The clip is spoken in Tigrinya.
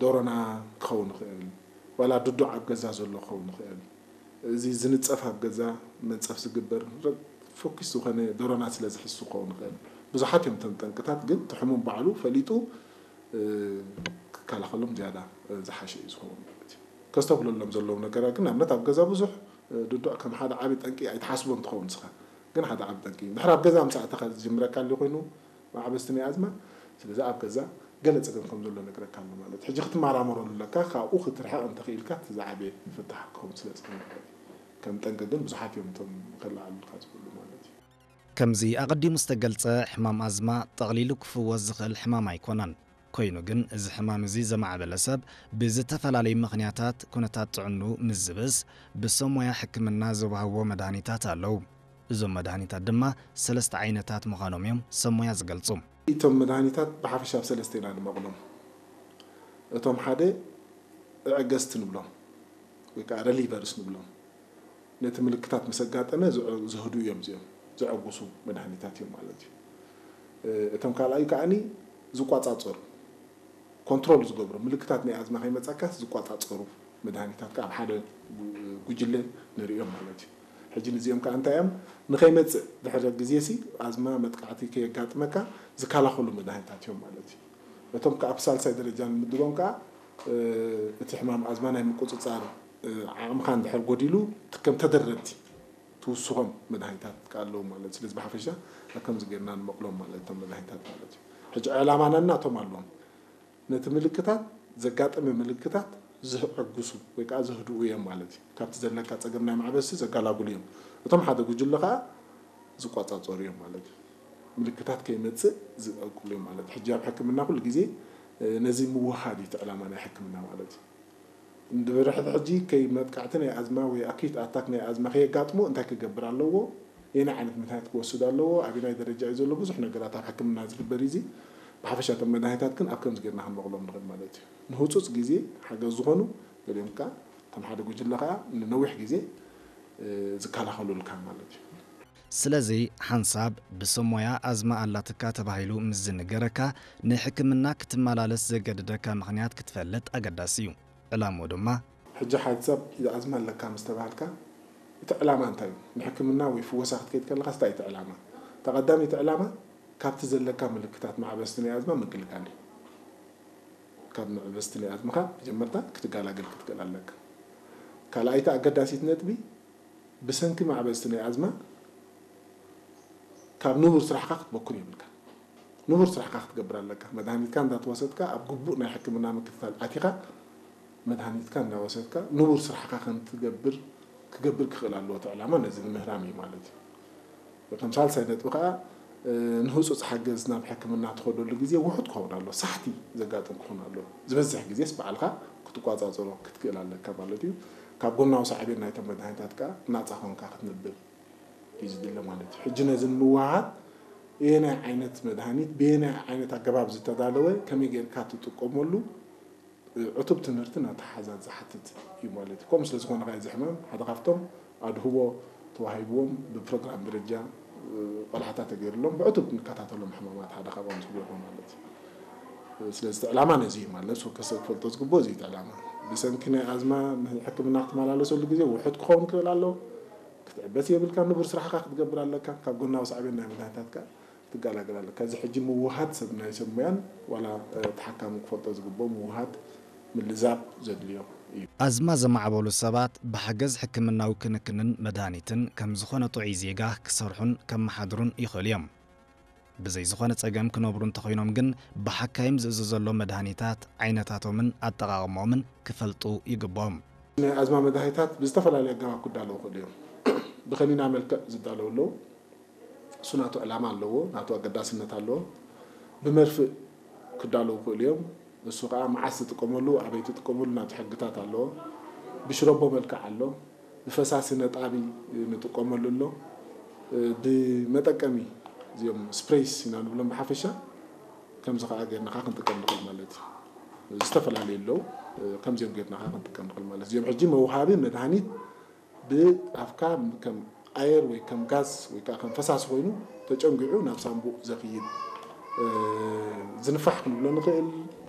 ዶሮና ክኸውን ይኽእል፣ ዋላ ድዱዕ ኣብ ገዛ ዘሎ ክኸውን ይኽእል። እዚ ዝንጸፍ ኣብ ገዛ መንጸፍ ዝግበር ረ-፣ ፎኪስ ዝኾነ ዶሮና ስለ ዝሕሱ ክኸውን ይኽእል። ብዙሓት እዮም እቶም ጠንቅታት፣ ግን እቲ ሕሙም ባዕሉ ፈሊጡ፣ እ፣ ክከላኸሎም ዝያዳ፣ እ፣ ዝሓሸ እዩ ዝኸውን ማለት እዩ። ከስተብህለሎም ዘለዎም ነገራት ግን፣ ንኣብነት ኣብ ገዛ ብዙሕ፣ እ፣ ድዱዕ ከም ሓደ ዓቢ ጠንቂ ኣይትሓስቦን ትኸውን ንስኻ። ግን ሓደ ዓቢ ጠንቂ እዩ። እንድሕር ኣብ ገዛ ምስ ኣተኻ ዝጅምረካ ኣሎ ኮይኑ፣ ማዕበስቲ ናይ ኣዝማ፣ ስለዚ ኣብ ገዛ ገለ ጸገም ከም ዘሎ ነግረካ ኣሎ ማለት እዩ። ሕጂ ክትመራመረሉ ኣለካ፣ ካብኡ ክትርሕቕ እንተኽኢልካ እቲ ዝዓበየ ፍታሕ ክኸውን ስለ ዝኽእል ማለት እዩ። ከም ጠንቂ ግን ብዙሓት እዮም እቶም ከለዓሉልካ ዝኽእሉ ማለት እዩ። ከምዚ ኣቐዲሙ ዝተገልጸ፣ ሕማም ኣዝማ ጠቕሊሉ ክፍወስ ዝኽእል ሕማም ኣይኮነን። ኮይኑ ግን፣ እዚ ሕማም እዚ ዘማዕበለ ሰብ ብዝተፈላለዩ ምኽንያታት ኩነታት ጥዕንኡ ምስ ዝብእስ፣ ብሰብ ሞያ ሕክምና ዝወሃብዎ መድሃኒታት ኣለዉ። እዞም መድሃኒታት ድማ ሰለስተ ዓይነታት ምዃኖም እዮም ሰብ ሞያ ዝገልጹ። እቶም መድሃኒታት ብሓፈሻ ኣብ ሰለስተ ኢና ንመቕሎም። እቶም ሓደ ኣዐገዝቲ ንብሎም፣ ወይ ከዓ ረሊቨርስ ንብሎም። ነቲ ምልክታት ምስ ኣጋጠመ ዝዕ-፣ ዘህድኡ እዮም እዚኦም፣ ዘዐጉሱ መድሃኒታት እዮም ማለት እዩ። እ፣ እቶም ካልኣይ ከዓኒ ዝቋጻጸሩ፣ ኮንትሮል ዝገብሩ፣ ምልክታት ናይ ኣዝማ ከይመጻካስ ዝቋጻጸሩ መድሃኒታት ከኣ ኣብ ሓደ ጉ-፣ ጉጅለ ንርእዮም ማለት እዩ። ሕጂ ንዚኦም ከኣ እንታይ እዮም? ንኸይመጽእ ድሕሪ ግዜሲ ኣዝማ መጥቃዕቲ ከየጋጥመካ ዝከላኸሉ መድሃኒታት እዮም ማለት እዩ። እቶም ከኣ ኣብ ሳልሳይ ደረጃ ንምድቦም ከኣ፣ እ፣ እቲ ሕማም ኣዝማ ናይ ምቁጽጻር፣ እ፣ ዓቕምኻ እንድሕር ጎዲሉ፣ እቲ ከም ተደረብቲ ትውስኾም መድሃኒታት ከኣ ኣለዉ ማለት እዩ። ስለዚ ብሓፈሻ ኣብ ከምዚ ጌርና ንመቕሎም ማለት እቶም መድሃኒታት ማለት እዩ። ሕጂ ዕላማና ናቶም ኣለዎም። ነቲ ምልክታት፣ ዘጋጠመ ምልክታት ዘዕግሱ ወይ ከኣ ዘህድኡ እዮም ማለት እዩ። ካብቲ ዘለካ ጸገም ናይ ማዕበሲ ዘጋላግሉ እዮም። እቶም ሓደ ጉጅለ ከኣ ዝቋጻጸሩ እዮም ማለት እዩ። ምልክታት ከይመጽእ ዝዕቁሉ እዮም ማለት እዩ። ሕጂ ኣብ ሕክምና ኩሉ ግዜ፣ እ፣ ነዚ ምውሃድ እዩ እቲ ዕላማ ናይ ሕክምና ማለት እዩ። እንድሕር ሕጂ ከይ መጥቃዕቲ ናይ ኣዝማ ወይ ኣኪዩት ኣታክ ናይ ኣዝማ ከየጋጥሞ እንታይ ክገብር ኣለዎ? የናይ ዓይነት መድሃኒት ክወስድ ኣለዎ? ኣበናይ ደረጃ እዩ ዘሎ? ብዙሕ ነገራት ኣብ ሕክምና ዝግበር እዩ። እዚ ብሓፈሻ እቶም መድሃኒታት ግን ኣብ ከምዚ ጌርና ክንመቕሎም ንኽእል ማለት እዩ። ንህጹጽ ግዜ ሓገዝ ዝኾኑ፣ ገሊኦም ከኣ ከም ሓደ ጉጅለ ከኣ ንነዊሕ ግዜ፣ እ፣ ዝከላኸሉልካ ማለት እዩ። ስለዚ ሓንሳብ ብሰብ ሞያ ኣዝማ ኣላትካ ተባሂሉ ምስ ዝንገረካ፣ ናይ ሕክምና ክትመላለስ ዘገድደካ ምኽንያት ክትፈልጥ ኣገዳሲ እዩ። ዕላምኡ ድማ፣ ሕጂ ሓደ ሰብ ኣዝማ ኣለካ ምስ ተባሃልካ፣ እቲ ዕላማ እንታይ እዩ? ንሕክምና ወይ ፍወሳ ክትከይድ ከለኻስ እንታይ እዩ እቲ ዕላማ? እቲ ቀዳመይቲ ዕላማ ካብቲ ዘለካ ምልክታት ማዕበስቲ ናይ ኣዝማ ምግልጋል እዩ። ካብ መዕበስቲ ናይ ኣዝምኻ መጀመርታ ክትገላገል ክትክእል ኣለካ። ካልኣይቲ ኣገዳሲት ነጥቢ፣ ብሰንኪ ማዕበስቲ ናይ ኣዝማ ካብ ንቡር ስራሕካ ክትበኩን የብልካ። ንቡር ስራሕካ ክትገብር ኣለካ። መድሃኒትካ እንዳተወሰድካ ኣብ ግቡእ ናይ ሕክምና ምክትታል ኣቲኻ፣ መድሃኒትካ እንዳወሰድካ ንቡር ስራሕካ ከም ትገብር ክገብር ክኽእል ኣለዎ። እቲ ዕላማ ነዚ ንምህራም እዩ ማለት እዩ። ከም ሳልሳይ ነጥቢ ከኣ፣ እ፣ ንህጹጽ ሓገዝ ናብ ሕክምና ትኸደሉ ግዜ ውሑድ ክኸውን ኣሎ፣ ሳሕቲ ዘጋጥም ክኸውን ኣሎ። ዝበዝሕ ግዜስ ባዕልኻ ክትቋጻጸሮ ክትክእል ኣለካ ማለት እዩ። ካብ ጎናዊ ሳዕቤን ናይቶም መድሃኒታት ከኣ ናጻ ኮንካ ክትነብር እዩ ዝድለ ማለት እዩ። ሕጂ ነዚ ንምውሃድ፣ የናይ ዓይነት መድሃኒት፣ ብየናይ ዓይነት ኣገባብ ዝተዳለወ፣ ከመይ ጌርካ ትጥቀመሉ፣ እ፣ ዕቱብ ትምህርትን ኣተሓሕዛን ዝሓትት እዩ ማለት እዩ። ከምኡ ስለ ዝኾነ ከኣ እዚ ሕማም ሓደ ካብቶም ኣድህቦ ተዋሂብዎም ብፕሮግራም ደረጃ፣ እ፣ ቆላሕታ ተገይሩሎም ብዕቱብ ንከታተሎም ሕማማት ሓደ ካብኦም ዝገብሩ ማለት እዩ። እ፣ ስለዚ እቲ ዕላማ ነዚ እዩ ማለት፣ ወከ ሰብ ክፈልጦ ዝግብኦ እዚ እዩ እቲ ዕላማ። ብሰንኪ ናይ ኣዝማ ንሕክምና ክትመላለሰሉ ግዜ ውሑድ ክኸውን ክኽእል ኣሎ። ክትዕበስ የብልካ፣ ንቡር ስራሕካ ክትገብር ኣለካ። ካብ ጎናዊ ሳዕቤን ናይ መድሃኒታት ከኣ ክትገላገል ኣለካ። እዚ ሕጂ ምውሃድ ሰብ ናይ ሰብ ሞያን ዋላ፣ እ፣ ተሓካሚ ክፈልጦ ዝግብኦ ምውሃድ ምልዛብ ዘድልዮ እዩ። ኣዝማ ዘማዕበሉ ሰባት ብሓገዝ ሕክምናዊ ክንክንን መድሃኒትን ከም ዝኾነ ጥዑይ ዜጋ ክሰርሑን ከመሓድሩን ይኽእሉ እዮም። ብዘይ ዝኾነ ጸገም ክነብሩ እንተኾይኖም ግን ብሓካይም ዝእዘዘሎም መድሃኒታት ዓይነታቶምን ኣጠቓቕሞምን ክፈልጡ ይግብኦም። ናይ ኣዝማ መድሃኒታት ብዝተፈላለየ ኣገባብ ክዳለዉ ይኽእሉ እዮም። ብኸኒና መልክዕ ዝዳለዉ ኣለዉ። እሱ ናቱ ዕላማ ኣለዎ፣ ናቱ ኣገዳስነት ኣለዎ። ብመርፍእ ክዳለዉ ይኽእሉ እዮም። እሱ ኸዓ መዓስ ትጥቀመሉ፣ ኣበይ ትጥቀመሉ ናቱ ሕግታት ኣለዎ። ብሽረቦ መልክዕ ኣሎ፣ ብፈሳሲ ነጣቢ ንጥቀመሉ ኣሎ። ብመጠቀሚ እዚኦም ስፕሬይስ ኢና ንብሎም ብሓፈሻ፣ ከምዚ ኸዓ ጌርና ኸዓ ክንጥቀም ንኽእል ማለት እዩ። ዝተፈላለዩ ኣለዉ፣ ከምዚኦም ጌርና ኸዓ ክንጥቀም ንኽእል ማለት እዩ። እዚኦም ሕጂ መውሃቢ መድሃኒት ብኣፍካ ከም ኣየር ወይ ከም ጋዝ ወይ ከዓ ከም ፈሳሲ ኮይኑ ተጨንጊዑ ናብ ሳንቡእ ዘኽይድ፣ እ፣ ዝንፋሕ ክንብሎ ንኽእል፣